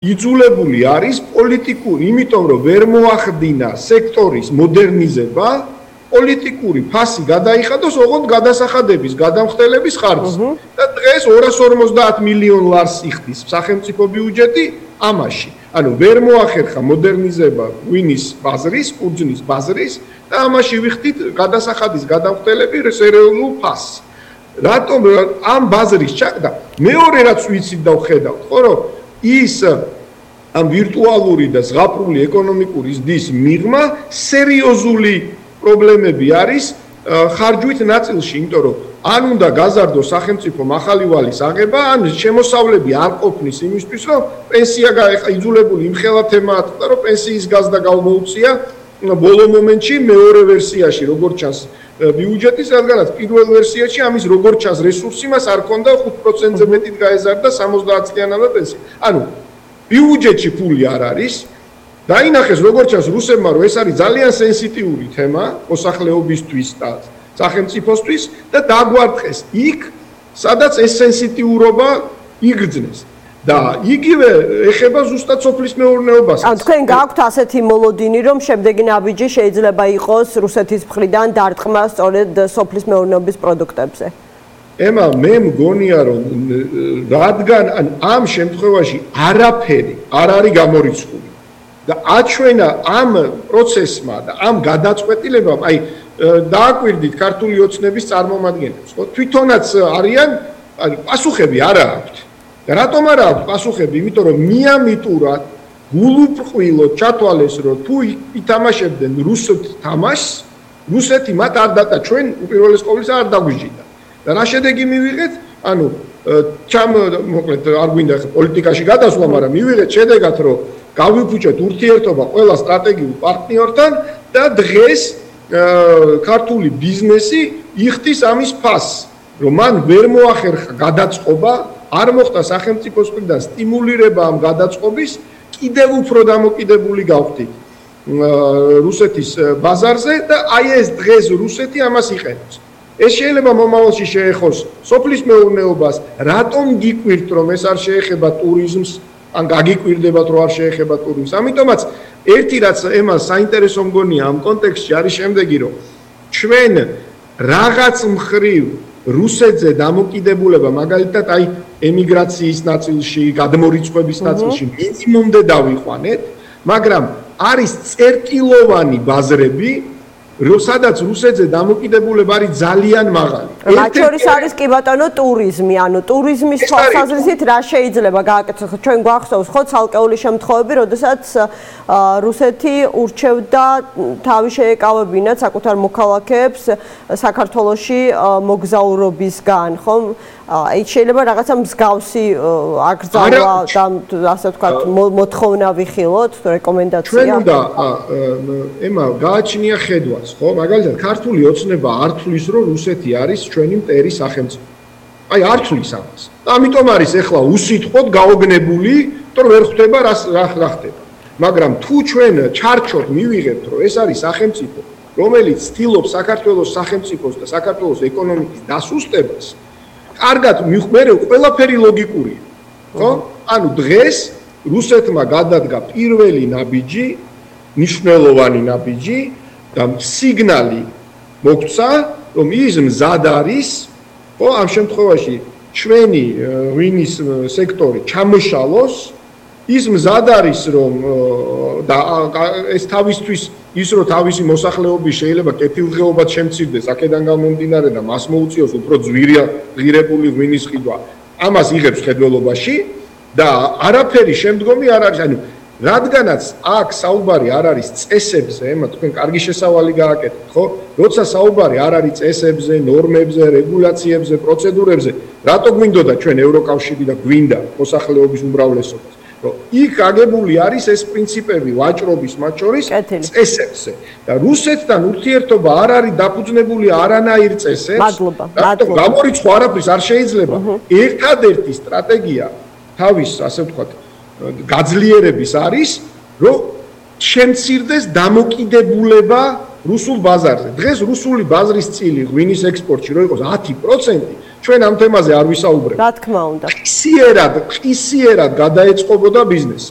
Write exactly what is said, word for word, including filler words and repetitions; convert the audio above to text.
იძულებული არის პოლიტიკური, იმიტომ რომ ვერ მოახდინა სექტორის მოდერნიზება, პოლიტიკური ფასი გადაიხადოს ოღონდ გადასახადების, გადამხდელების ხარჯზე. და დღეს ორას ორმოცდაათ მილიონ ლარს იხდის სახელმწიფო ბიუჯეტი ამაში. ანუ ვერ მოახერხა მოდერნიზება ღვინის ბაზრის, ყურძნის ბაზრის და ამაში ვიხდით გადასახადის, გადამხდელების ეროვნულ ფასს. რატომ ამ ბაზრის ჩაკდა? მეორე რაც ვიცით და ვხედავთ, ხო რომ ის ამ ვირტუალური და ზღაპრული ეკონომიკური ზრდის მიღმა სერიოზული პრობლემები არის ხარჯვით ნაწილში, იმიტომ რომ ან უნდა გაზარდოს სახელმწიფო მახალივალის აღება, ან შემოსავლები არ ყოფნის იმისთვის, რომ პენსია იძულებული იმხელა თემაა, რომ პენსიის გაზრდა გამოუწია ბოლო მომენტში მეორე ვერსიაში, როგორც ჩანს ბიუჯეტის, რადგანაც პირველ ვერსიაში ამის როგორც ჩანს რესურსი მას არ ქონდა ხუთ პროცენტზე მეტით გაეზარდა სამოცდაათ წლიანადა პენსია. ანუ ბიუჯეტში ფული არ არის. დაინახეს როგორც ჩანს რუსებმა, რომ ეს არის ძალიან სენსიტიური თემა მოსახლეობისთვის და სახელმწიფოსთვის და დაგვარტყეს იქ, სადაც ეს სენსიტიურობა იგრძნეს. და იგივე ეხება ზუსტად სოფლის მეურნეობას. ან თქვენ გაქვთ ასეთი მოლოდინი, რომ შემდეგი ნაბიჯი შეიძლება იყოს რუსეთის მხრიდან დარტყმა სწორედ სოფლის მეურნეობის პროდუქტებზე? ემა, მე მგონია, რომ რადგან ამ შემთხვევაში არაფერი არ არის გამორიცხული და აჩვენა ამ პროცესმა და ამ გადაწყვეტილებამ, აი დააკვირდით ქართული ოცნების წარმომადგენლებს, ხო? თვითონაც არიან, ანუ პასუხები არ აქვთ. და რატომ არ აქვს პასუხები? იმიტომ რომ მიამიტურად გულუბრყვილოდ ჩათვალეს, რომ თუ ითამაშებდნენ რუსეთ თამაშს, რუსეთი მათ არ დატა, ჩვენ უპირველეს ყოვლისა არ დაგვიჯიდა. და რა შედეგი მივიღეთ? ანუ ჩამ მოკლედ არ გვინდა პოლიტიკაში გადასვლა, მაგრამ მივიღეთ შედეგად, რომ გავიფუჭეთ ურთიერთობა ყველა სტრატეგიულ პარტნიორთან და დღეს ქართული ბიზნესი იხდის ამის ფასს, რომ მან ვერ მოახერხა გადაწყობა, არ მოხდა სახელმწიფოს მხრიდან სტიმულირება ამ გადაწყობის, კიდევ უფრო დამოკიდებული გავხდით რუსეთის ბაზარზე და აი ეს დღეს რუსეთი ამას იყენებს. ეს შეიძლება მომავალში შეეხოს სოფლის მეურნეობას, რატომ გიკვირთ, რომ ეს არ შეეხება ტურიზმს, ან გაგიკვირდებათ, რომ არ შეეხება ტურიზმს. ამიტომაც ერთი რაც ემას საინტერესო მგონია ამ კონტექსტში არის შემდეგი, რომ ჩვენ რაღაც მხრივ რუსეთზე დამოკიდებულება, მაგალითად აი ემიგრაციის ნაწილში, გადმორიცხვების ნაწილში მინიმუმდე დავიყვანეთ, მაგრამ არის წერტილოვანი ბაზრები, სადაც რუსეთზე დამოკიდებულება არის ძალიან მაღალი. მათ შორის არის კი ბატონო ტურიზმი, ანუ ტურიზმის თვალსაზრისით რა შეიძლება გააკეთოს? ჩვენ გვახსოვს ხო ცალკეული შემთხვევები, როდესაც რუსეთი ურჩევდა თავი შეეკავებინათ საკუთარ მოქალაქეებს საქართველოში მოგზაურობისგან, ხო? აი შეიძლება რაღაცა მსგავსი აკრძალვა და ასე ვთქვათ მოთხოვნა ვიხილოთ, რეკომენდაცია. ჩვენ უნდა ემა გააჩნია ხედვაც, ხო? მაგალითად ქართული ოცნება არ თვლის, რომ რუსეთი არის ჩვენი მტერი სახელმწიფო. აი არ თვლის ამას. და ამიტომ არის ეხლა უსიტყვოდ გაოგნებული, რომ ვერ ხვდება რა რა ხდება. მაგრამ თუ ჩვენ ჩარჩოთ მივიღებთ, რომ ეს არის სახელმწიფო, რომელიც ცდილობს საქართველოს სახელმწიფოს და საქართველოს ეკონომიკის დასუსტებას, კარგად მიხმერე ყველაფერი ლოგიკურია, ხო? ანუ დღეს რუსეთმა გადადგა პირველი ნაბიჯი, მნიშვნელოვანი ნაბიჯი და სიგნალი მოგცა, რომ ის მზად არის, ხო, ამ შემთხვევაში ჩვენი ღვინის სექტორი ჩამოშალოს, ის მზად არის, რომ და ეს თავისთვის ის რომ თავისი მოსახლეობის შეიძლება კეთილდღეობად შემცირდეს, აქედან გამომდინარე და მას მოუწიოს უფრო ძვირია ღირებული ღვინის ყიდვა. ამას იღებს ხედველობაში და არაფერი შემდგომი არ არის, ანუ რადგანაც აქ საუბარი არ არის წესებზე, ემა თქვენ კარგი შესავალი გააკეთეთ, ხო? როცა საუბარი არ არის წესებზე, ნორმებზე, რეგულაციებზე, პროცედურებზე, რატო გვინდოდა ჩვენ ევროკავშირი და გვინდა მოსახლეობის უმრავლესობას? რომ იქ აგებული არის ეს პრინციპები ვაჭრობის მათ შორის წესებზე და რუსეთთან ურთიერთობა არ არის დაფუძნებული არანაირ წესებს. მადლობა. მადლობა. გამორიცხვა არაფრის არ შეიძლება. ერთადერთი სტრატეგია თავის, ასე ვთქვათ, გაძლიერების არის, რომ შემცირდეს დამოკიდებულება რუსულ ბაზარზე. დღეს რუსული ბაზრის წილი ღვინის ექსპორტში რო იყოს ათი პროცენტი, ჩვენ ამ თემაზე არ ვისაუბრებთ. რა თქმა უნდა. ხისიერად, ხისიერად გადაეწყობოდა ბიზნესი.